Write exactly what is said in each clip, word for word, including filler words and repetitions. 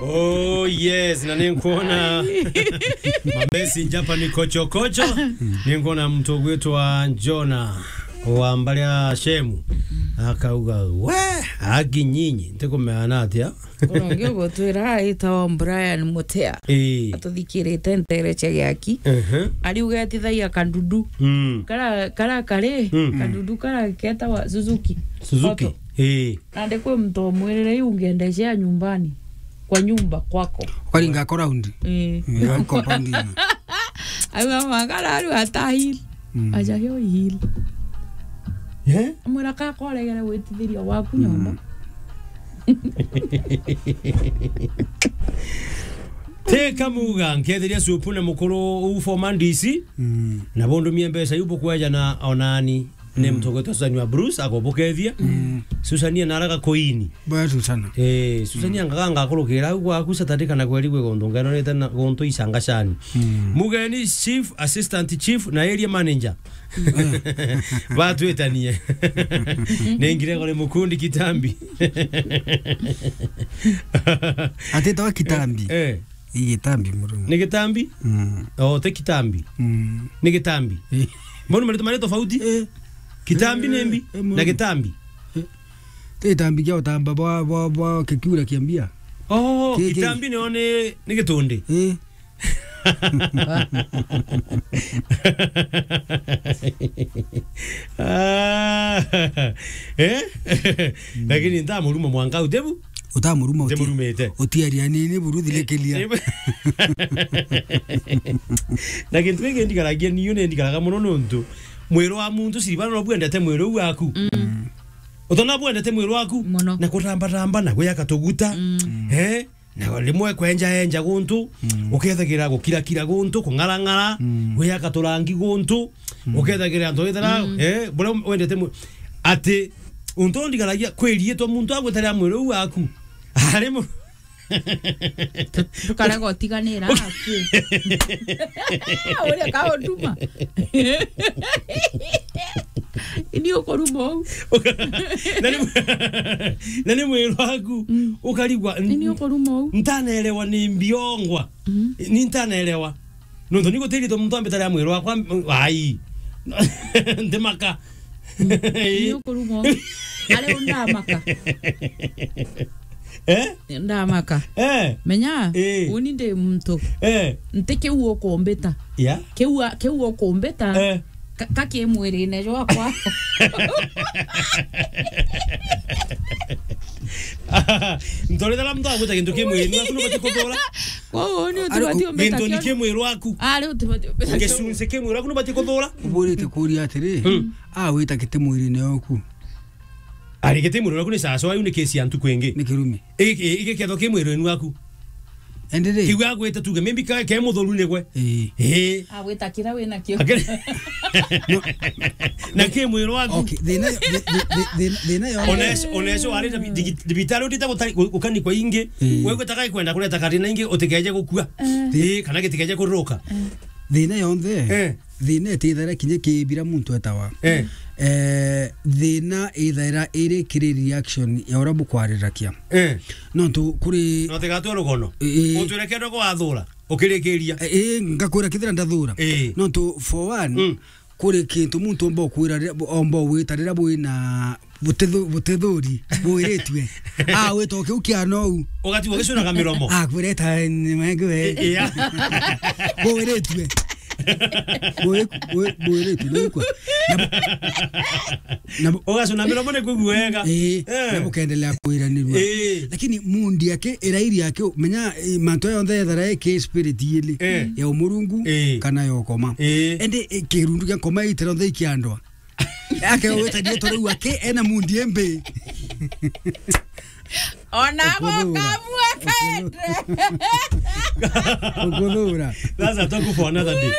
Oh yes, na ninkuona mamessenger hapa ni kocho kocho. Ninkuona mtu gwitwa Jona wa mbali ya Shemu akauga, "We, aki nyinyi, ntikumea na atia?" Urongi ugutwira aitawa Brian Mutea. Ii. Atuthikirite ntere cia giaki. Ehe. Ariuga etithagia kandudu. Mm. Kara, kara kari, mm, kandudu kara ketawa Suzuki. Suzuki. Auto. Ii. Nandi kwi muntu omwirire, "Iu ngiendecea nyumbani, kwa nyumba kwako." Ukaringa ako round. Ii. Ii, au compound ino. Auga, "Makara aru ata hill." Mm. Aja hiyo hill. Eh? Amwira, "Ka koregere gwitithiria waku nyomba." Mm. Teka muga, nkethiria supu na mukuru uu former D C, mm, na bundumie mbeca iu bukwejana onani. Ni, mm, mutogwetwa Susan wa Bruce, akobukethia. Mm. Susania naraga koini. Bwa Susana. Eh, Susania, mm, ngaga ngakurukira au gwaku Saturday kana kweri gwe guntu ngenonete na guntu icangacani. Mm. Mugeni, chief, assistant chief na area manager. Batwitanie. Nengire gore mukundi Kitambi. Atitawa Kitambi. Eh. Ii Gitambi, Murungu. Ni Gitambi? Mm. Oh, ti Kitambi. Mm. Ni Gitambi. Eh. Mbona marito mari tofauti? Eh. Kitambi ni mbi, eh, eh, na Murungu. Gitambi. Eh. Ti Gitambi kia utamba bwa, bwa, bwa kikiura kia mbia. Oh, ki-, ki-, Kitambi ni one, ni gitundi. Eh. Ah, eh? Mm. Lakini ntamuruma mwanka utebu? Utamuruma uti-, utimurumite. Utiaria nini buru thirikiria. Eh, eh. Na kintu giki ndigaragia niyo ni ndigaraga muno nontu mwiri wa muntu siribana no bwendete mwiri waku. Mm. Utona bwendete mwiri waku. Muno. Na kutamba tamba na gwiyaka tuguta. Mm. Eh? Na rimwe kwenja enja guntu, mm, ukethagira gukirakira guntu, kung'arang'ara, mm, gwiyaka turangi guntu, mm, ukethagira antu withira, mm, eh, buria wendete mu-, ati untu ndigaragia kwiriitwa muntu agwitaria mwiri uu waku. Ari mu- Tu-, tukarega utiganira aki. Uria kaunduma. Ini ukuruma uu. Na ni, na ni mwiri waku, mm, ukarigwa, n-, ini ukuruma uu. Ntanaelewa ni mbiongwa. Mm. Ni ntanaelewa. Nontu ni gutiritwe muntu ambitaria mwiri wakwa, m-, ai. Ntimaka. Mm. Ini ukuruma uu. Ari undamaka. Eh? Ndamaka. Eh. Menya, eh, uni ndi muntu. Eh. Nti kiu ukumbita. Yeah. Kiu a-, kiu ukumbita. Eh. Ka, ka ki mwirine jwakwa. Ntorethera muntu agwita kintu ki mwirine waku nubati kuthura. Kwou uni utibati umbita kintu ni ki mwiri waku. Ari utibati umbita. Gicunci ki mwiri waku nubati kuthura. Uburite kuria atiri, mm, a wita kiti mwirine oku. Ari giti mwiri waku ni sawa sawa, iu ni kesi ya ntuku ingi. Ni kirumi. Igi, igi, igi ketho ki mwiri waku. Ende ri? Kiu agwita tuge, maybe ka, ke muthuru nigwe. Ii. Ii. Agwita kira wina kio. Akere-, na ki mwiri waku. Okay, thina, thi-, thi-, thi-, thi-, thina yo. Oneso, oneso wari na bi-, digi-, thibitari utite gutari-, gu-, gukani kwa ingi. Ii. Wewe gutaka kwenda kureta kathina ingi utikeje gukua. Eh. Ii, kana gitikeje kuruka. Eh. Thina yonthe. Eh. Thina itithaira kinya kibira muntu etawa. Eh. Eh, thina ithaira iri kiri reaction ya uria bukwarirakia. Eh. Nontu kuri no tigatwe rugono. Eh, eh. Utwire kendo gwathura, ukirikiria. Eh, eh, ngakwira kithira ndathura. Eh. Nontu for one, mm, kuri kintu muntu omba ukwira riria, omba ugwita riria bwina butithu-, butithuri, bwiritue. Ah, wita o kiu kia nou. Ugatigwo ugicunaga miromo. Ah, kwireta ni menge we. I-, iya. Bwiritue. Bwi-, bwi-, bwiritue, ni kwa. Na bu-, na bu-, ugacuna miromo ni kuigua wega. Ii, eh, na bukendelea kwiranirua. Ii. Lakini mundi yake, irairi yake, menya, eh, mantu aya onthe ethara eke spirit yili, eh, ya umurungu, eh, kana ya ukoma. Eh. Ende, eh, kirundu kia nkoma itira onthe ikiandwa. Ake weta ndietwa riu ake ena mundi embe. Ona gukamua kendre. Ukuthura. That's a talk for another day.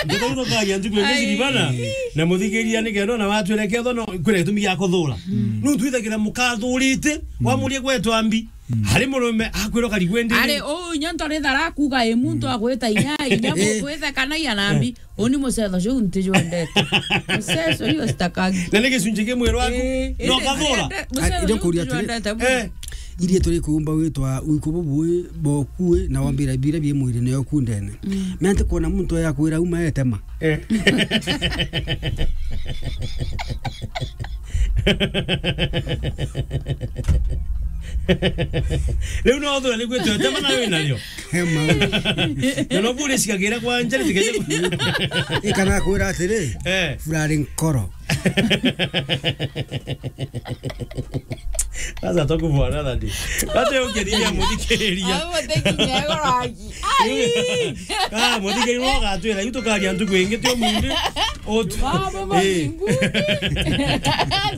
Ndio tukagia ntuku ya miciri bana, na muthikiria ni kendo na watu ele ketho no kwire gitumi gia kuthura. Mm. Nu twithagira mukathurite, mm, wamurie gwetwa mbi. Mm. Ari murume akwira kari gwende. Ari, u, inya ntori thara kuga i muntu, mm, agwita inya, inya, eh, gwitha kana iana mbi. Eh. Uni mucetho ciu ntijwendete. Mucetho iyo citakagi. Na ni gicunci ki mwiri waku? Eh, no indi kathura? Mucetho ciu ntijwendete. Eh. Iria turi kuumba witwa uiku bubui bokui na wambira bira bie mwiri nayo ku ndene. Mm. Mea ntikwona muntu ya kwira uma etema. Eh. Riu no thura ni gwitwa etema na wi nario. He maundu. Na no buri cikagira kwa njari tikeje. Ikana kwira atiri, eh, furari nkoro. Sasa tukubona thadi. Bate ukethia muthikiriria. Abo muthikiriria goragi. Ai! Ah, muthikiriria no gatwira, yu tukaria ntuku ingi tio mundi. Otu. Baba, eh, mazingu.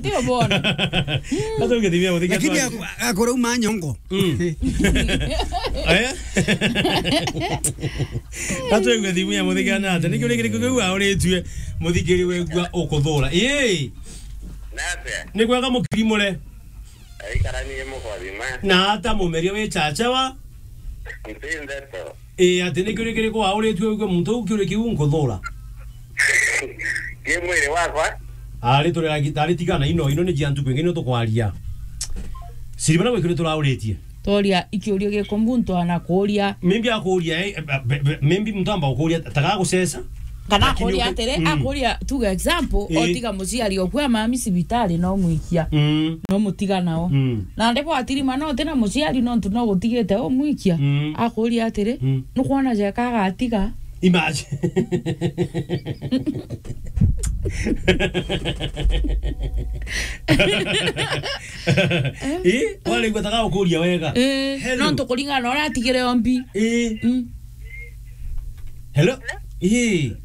Tio bona. Bate ukethia muthikiriria. Lakini ak-, akora uma nyongo. Mm. Eh? Atwigwe thimu ya muthikana ate. Nikio rikiriku kiu auritue muthikiri wegua ukuthura. Ii. Nate. Ni kwega mukirimure. Aikara ni mukothima. Na ata mumeria wi chachawa. Nti ndeto. Ii, ati nikio rikiriku auritue wigwe muntu u kiuri kiu nkuthura. Ki mwiri wakwa. Ari turi agi-, ari tigana ino, ino ni jia ntuku ingi nio tukwaria. Siribana gwikuri turauritie. Toria ikiurio giku muntu anakuria. Maybe akuria, eh, eh, be-, be-, maybe muntu amba gukuria, taga gucesa. Kana lakini akuria uke-, atiri, mm, akuria, tuge example, eh, otiga muciari oku amami cibitari no mwikia. Mm. No mutiga nao. Mm. Na ndipo atirima no tina muciari nontu no gutigite umwikia. Mm. Akuria atiri, mm, nukwona jeka agatiga? Imagine. Ii, waraigua taka gukuria wega. Eh, hello. Nontu kuringana na uria atigire ombi. Ii. Mm. Hello? Ii.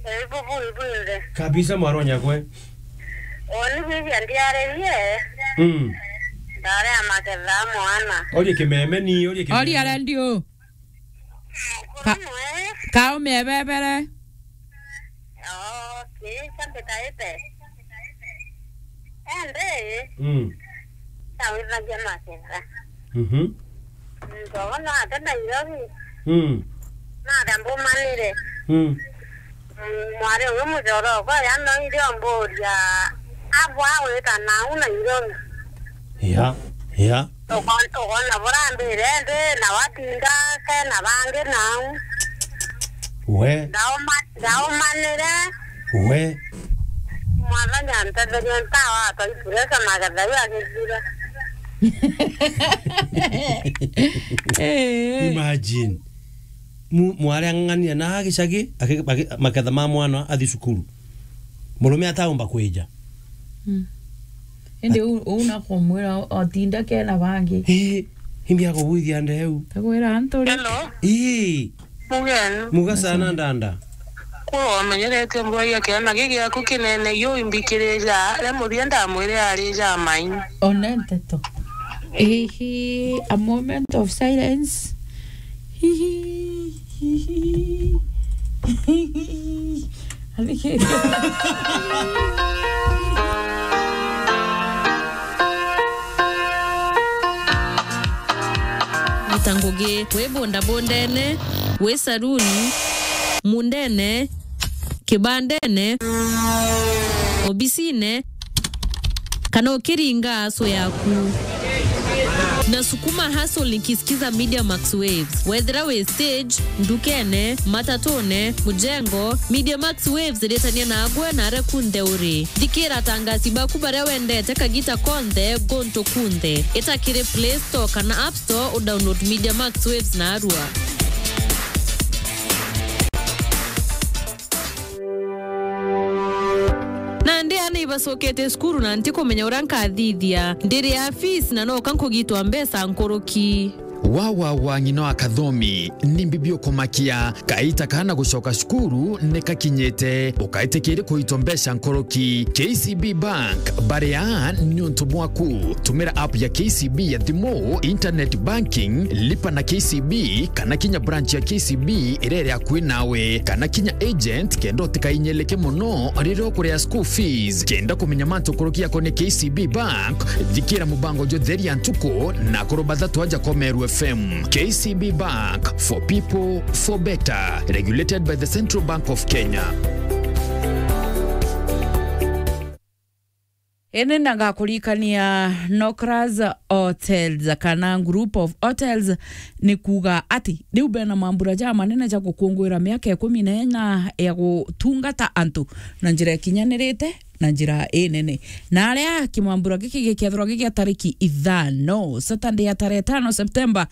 Eh, bubu, ibu inde. Kabisa mwaronya kwe. Oni bibi andiarerie. Mm. Ndare ya maketha mwana. Orie kimeme ni, orie kimeme. Oria radio. Ka-, mwe. Kaume ebebere. Okay, chambe taete. Ende. Mm. Tawithagia maketha. Mhm. Ndogo no ate Nairobi. Mm. Nata mbumanire. Mm. Mm, mwari umwe mucoro okwa yanoire omburia, abwa wita nau Nairobi. Ya, ya. Ukon-, ukona burambire ndi na watinda kena bangi nau. We. Ndauma-, ndaumanire. We. Mwathani antetherie ntawa atwaitire magetha yu agithire. Eh. Imagine. Mu-, mwari ang'ang'ania na gicagi, aki-, aki-, maketha ma mwana athi cukuru. Murume ataumba kwija. Mm. Indi u-, u nakumwira otinda kena bangi. Ii, imbi akugwithia ndeu. Takwira antu ri. Hello. Ii. Mugeni. Muga sana ndanda. Kuu wamenyerete mbwagia kiana giki giaku kinene, yu imbikirija, ria muthia ndamwire ari ja mai. One nteto. Hihi, a moment of silence. Hihi, hihi, hihi. Athikiriria. Ruta ngugi wi bundabundene, wi saruni, mundene, kibandene, obisine, kana ukiringa aso yaku. Na sukuma hustle nikisikiza Media Max Waves. Wethira wi stage, ndukene, matatune, mujengo, Media Max Waves iritania nagwe na aria kunthe uri. Thikira atangasi baku baria wendete kagita konthe, guntu kunthe. Ita kiri Play Store kana App Store udownload Media Max Waves narua. Nandi aana ibacokete cukuru na ntikumenya uria nkathithia. Ndiri ya fees na noka nkugitwa mbeca nkuruki. Wa, wa, wa, ng'ina wa Kathomi, ni mbibi ukumakia. Kaita kana gucoka cukuru ni kakinyite. Ukaitikiri kuitwa mbeca nkuruki. K C B Bank, bari aa niuntu bwaku. Tumira app ya K C B ya thimu, internet banking, lipa na K C B, kana kinya branch ya K C B iria iri akui nawe, kana kinya agent, kenda utikainyeleke mono riria ukuria school fees. Kenda kumenya mantu nkuruki yakonie K C B Bank, thikira mubango jwa Theri ya Ntuku na akuru bathatu aja kwa Meru F M. K C B Bank, for people, for better. Regulated by the Central Bank of Kenya. Ini na ngakuririkania Nokras Hotels kana Group of Hotels ni kuuga ati riu bena mambura ja manene ja gukunguira miaka ikumi na ina ya gutungata antu na njira ikinyanirite na njira inene. Na aria kimambura giki gikethirwa gigia tariki ithano, Saturday ya tarehe tano September,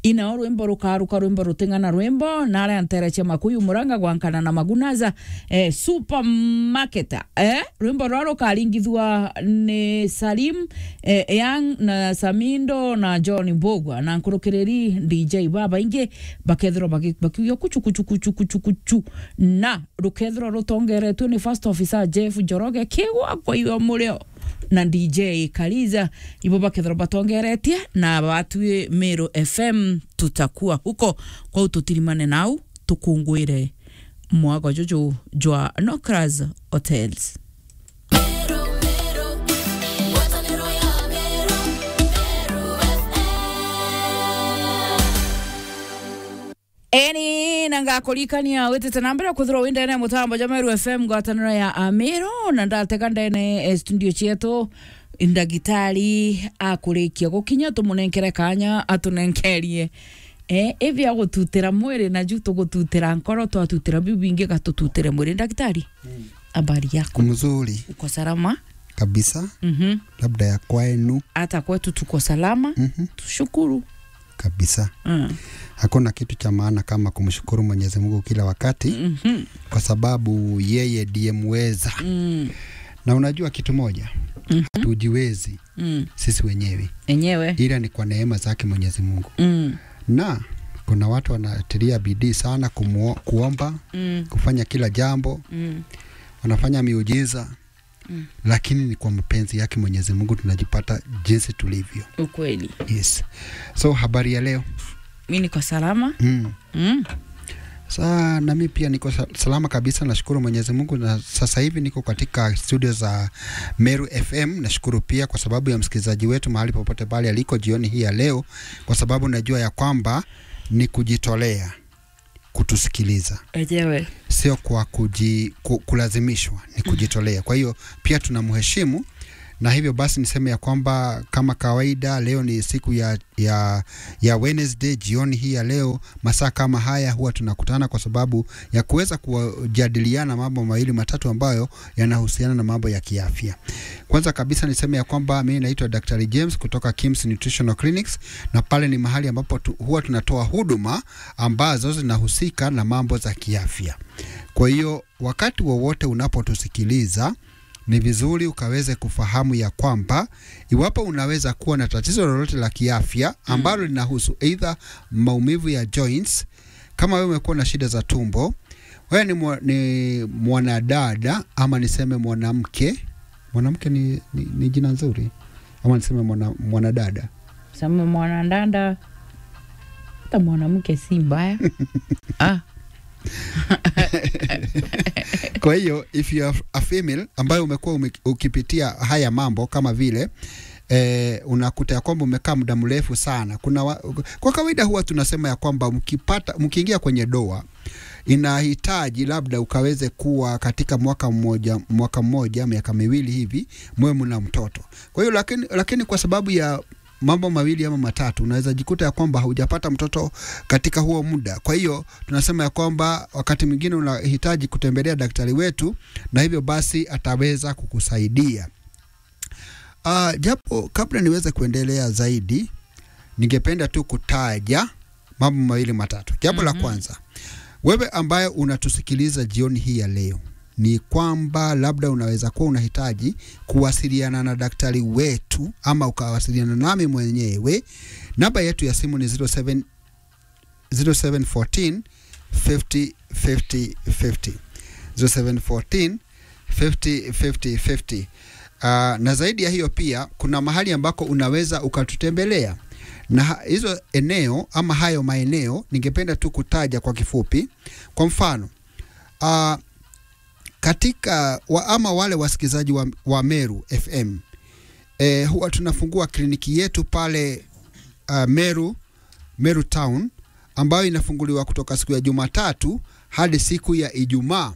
inao rwimbo rukaruka, rwimbo ruting'ana rwimbo, na aria ntere cia Makuyu Muranga gwankana na Magunaza, eh, Supermarket, eh, rwimbo rwa rukaringithua ni Salim, eh, Young na Samindo na John Mbugua na nkurukiriri D J babaingi bakethirwa baki-, bakiugia kuchu, kuchu, kuchu, kuchu, kuchu, na rukethirwa rutongeretue ni First Officer Jeff Njoroge Kigwa kwa iyo murio na D J Kaliza, ibo bakethirwa batongeretie na batwi Meru F M, tutakuwa huko. Kwou tutirimane nau, tukunguire mwago juju jwa Nokras Hotels. Eni, na ngakuririkania witite na mbere kwithirwa wi ndene ya mutambo jwa Meru F M, ngwataniro ya Amiru, na ndatega ndene, eh, studio cietu, ndagitari akurikia gukinya, tumunenkere kanya atunenkerie, eh, ibi agututira mwiri, na ju tugututira nkoro, twatutira biu bingi gatututire mwiri. Ndagitari, habari yako? Mzuri. Uko salama? Kabisa. Mhm. Labda ya kwenu? Hata kwetu tuko salama. Mhm. Tushukuru. Kabisa. Mm. Hakuna kitu cha maana kama kumshukuru Mwenyezi Mungu kila wakati, mhm, kwa sababu yeye ndiye muweza. Mm. Na unajua kitu moja? Mhm. Hatujiwezi, mm, sisi wenyewe. Enyewe. Ila ni kwa neema zake Mwenyezi Mungu. Mm. Na kuna watu wanatilia bidii sana kumuo-, kuomba, mm, kufanya kila jambo. Mm. Wanafanya miujiza. Mm. Lakini ni kwa mapenzi yake Mwenyezi Mungu tunajipata jinsi tulivyo. Ukweli. Yes. So, habari ya leo? Mi niko salama. Mm. Mm. Sa-, na mi pia niko sa-, salama kabisa, nashukuru Mwenyezi Mungu, na sasa hivi niko katika studio za Meru F M. Nashukuru pia kwa sababu ya msikilizaji wetu mahali popote pale aliko jioni hii ya leo, kwa sababu najua ya kwamba ni kujitolea kutusikiliza. Ejewe. Sio kwa kuji-, ku-, kulazimishwa, ni kujitolea. Kwa hiyo, pia tunamheshimu, na hivyo basi niseme ya kwamba kama kawaida, leo ni siku ya, ya, ya Wednesday, jioni hii ya leo, masaa kama haya huwa tunakutana kwa sababu ya kuweza kujadiliana mambo mawili matatu ambayo yanahusiana na mambo ya kiafya. Kwanza kabisa niseme ya kwamba mimi naitwa Daktari James kutoka Kims Nutritional Clinics, na pale ni mahali ambapo tu-, huwa tunatoa huduma ambazo zinahusika na mambo za kiafya. Kwa hiyo, wakati wowote unapotusikiliza, ni vizuri ukaweze kufahamu ya kwamba iwapo unaweza kuwa na tatizo lolote la kiafya, mm, ambalo linahusu either maumivu ya joints, kama wewe umekuwa na shida za tumbo, wewe ni mwa-, ni mwanadada ama niseme mwanamke. Mwanamke ni, ni, ni jina nzuri. Ama niseme mwana-, mwanadada. Sema mwanadada. Hata mwanamke si mbaya. Ah. Kwa hiyo, if you are a female ambayo umekuwa ume-, ukipitia haya mambo kama vile, eh, unakuta ya kwamba umekaa muda mrefu sana. Kuna wa-, kwa kawaida huwa tunasema ya kwamba mkipata, mkiingia kwenye ndoa, inahitaji labda ukaweze kuwa katika mwaka mmoja, mwaka mmoja, miaka miwili hivi, mwe mna mtoto. Kwa hiyo, lakini, lakini kwa sababu ya mambo mawili ama matatu, unaweza jikuta ya kwamba haujapata mtoto katika huo muda. Kwa hiyo, tunasema ya kwamba wakati mwingine unahitaji kutembelea daktari wetu, na hivyo basi ataweza kukusaidia. Ah, japo kabla niweze kuendelea zaidi, ningependa tu kutaja mambo mawili matatu. Jambo la, mhm, kwanza, wewe ambaye unatusikiliza jioni hii ya leo, ni kwamba labda unaweza kuwa unahitaji kuwasiliana na daktari wetu ama ukawasiliana nami mwenyewe. Namba yetu ya simu ni zero seven, zero seven fourteen, fifty, fifty, fifty. Zero seven fourteen, fifty, fifty, fifty. Ah, na zaidi ya hiyo pia, kuna mahali ambako unaweza ukatutembelea. Na ha-, hizo eneo ama hayo maeneo, ningependa tu kutaja kwa kifupi. Kwa mfano, ah, katika wa-, ama wale wasikilizaji wa, wa Meru F M, eh, huwa tunafungua kliniki yetu pale, ah, Meru, Meru Town, ambayo inafunguliwa kutoka siku ya Jumatatu hadi siku ya Ijumaa.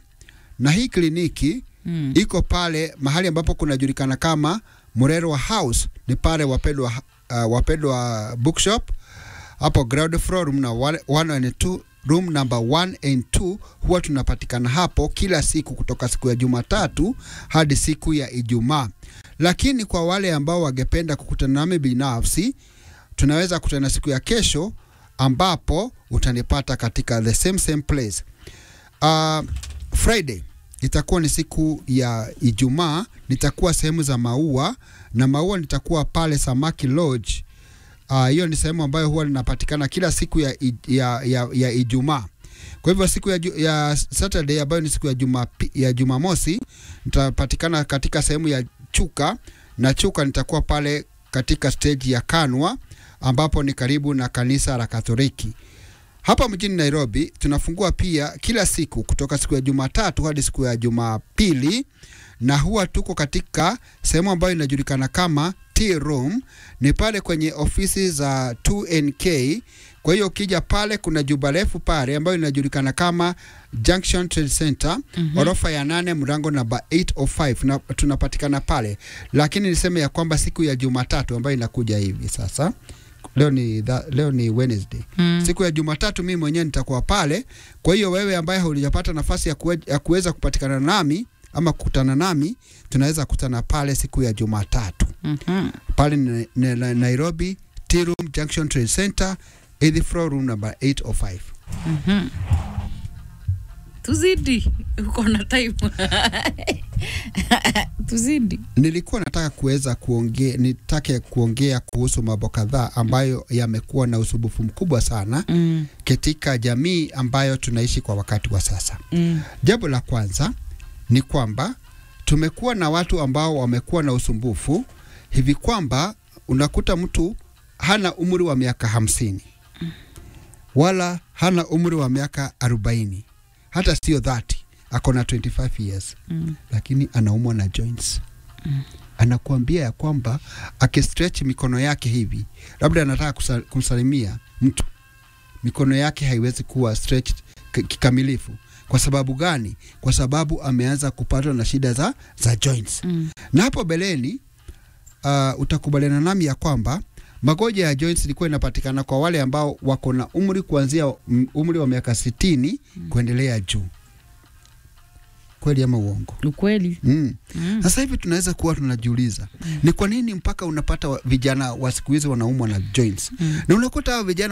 Na hii kliniki Mm. Iko pale mahali ambapo kunajulikana kama Murerwa House, ni pale Wapendwa, uh, Wapendwa Bookshop, hapo ground floor, room na one, one and two, room number one and two. Huwa tunapatikana hapo kila siku kutoka siku ya Jumatatu hadi siku ya Ijumaa. Lakini kwa wale ambao wangependa kukutana nami binafsi, tunaweza kutana siku ya kesho, ambapo utanipata katika the same, same place. Uh, Friday itakuwa ni siku ya Ijumaa, nitakuwa sehemu za Maua, na Maua nitakuwa pale Samaki Lodge. Ah, hiyo ni sehemu ambayo huwa linapatikana kila siku ya i-, ya, ya, ya Ijumaa. Kwa hivyo siku ya ju-, ya Saturday, ambayo ni siku ya Jumapi-, ya Jumamosi, nitapatikana katika sehemu ya Chuka, na Chuka nitakuwa pale katika stage ya Kanwa, ambapo ni karibu na kanisa la Katoliki. Hapa mjini Nairobi tunafungua pia kila siku kutoka siku ya Jumatatu hadi siku ya Jumapili, na huwa tuko katika sehemu ambayo inajulikana kama Tea Room, ni pale kwenye ofisi za two N K. Kwa hiyo ukija pale, kuna jumba refu pale ambayo inajulikana kama Junction Trade Center, Mhm. orofa ya nane, mlango namba eight oh five, na tunapatikana pale. Lakini niseme ya kwamba siku ya Jumatatu ambayo inakuja hivi sasa, leo ni tha-, leo ni Wednesday. Mm. Siku ya Jumatatu mimi mwenyewe nitakuwa pale. Kwa hiyo wewe ambaye hujapata nafasi ya kuwe-, ya kuweza kupatikana nami ama kukutana nami, tunaweza kutana pale siku ya Jumatatu. Mhm. Pale ni, ni, ni Nairobi, Tea Room, Junction Trade Center, eighth floor, room number eight oh five. Mhm. Tuzidi, uko na time. Tuzidi. Nilikuwa nataka kuweza kuongea, nitake kuongea kuhusu mambo kadhaa ambayo yamekuwa na usumbufu mkubwa sana Mm. katika jamii ambayo tunaishi kwa wakati wa sasa. Mm. Jambo la kwanza ni kwamba tumekuwa na watu ambao wamekuwa na usumbufu hivi kwamba unakuta mtu hana umri wa miaka hamsini, wala hana umri wa miaka arobaini, hata sio thirty, ako na twenty-five years, Mm. lakini anaumwa na joints. Mm. Anakuambia ya kwamba akistretch mikono yake hivi, labda anataka kusa-, kumsalimia mtu, mikono yake haiwezi kuwa stretched k-, kikamilifu. Kwa sababu gani? Kwa sababu ameanza kupatwa na shida za, za joints. Mm. Na hapo mbeleni, ah, utakubaliana nami ya kwamba magonjwa ya joints ilikuwa inapatikana kwa wale ambao wako na umri kuanzia, mm, umri wa miaka sitini Mm. kuendelea juu. Kweli ama uongo? Ukweli. Mm. Mm. Sasa hivi tunaweza kuwa tunajiuliza, Mm. ni kwa nini mpaka unapata wa-, vijana wa siku hizi wanaumwa na joints? Mm. Na unakuta hao vijana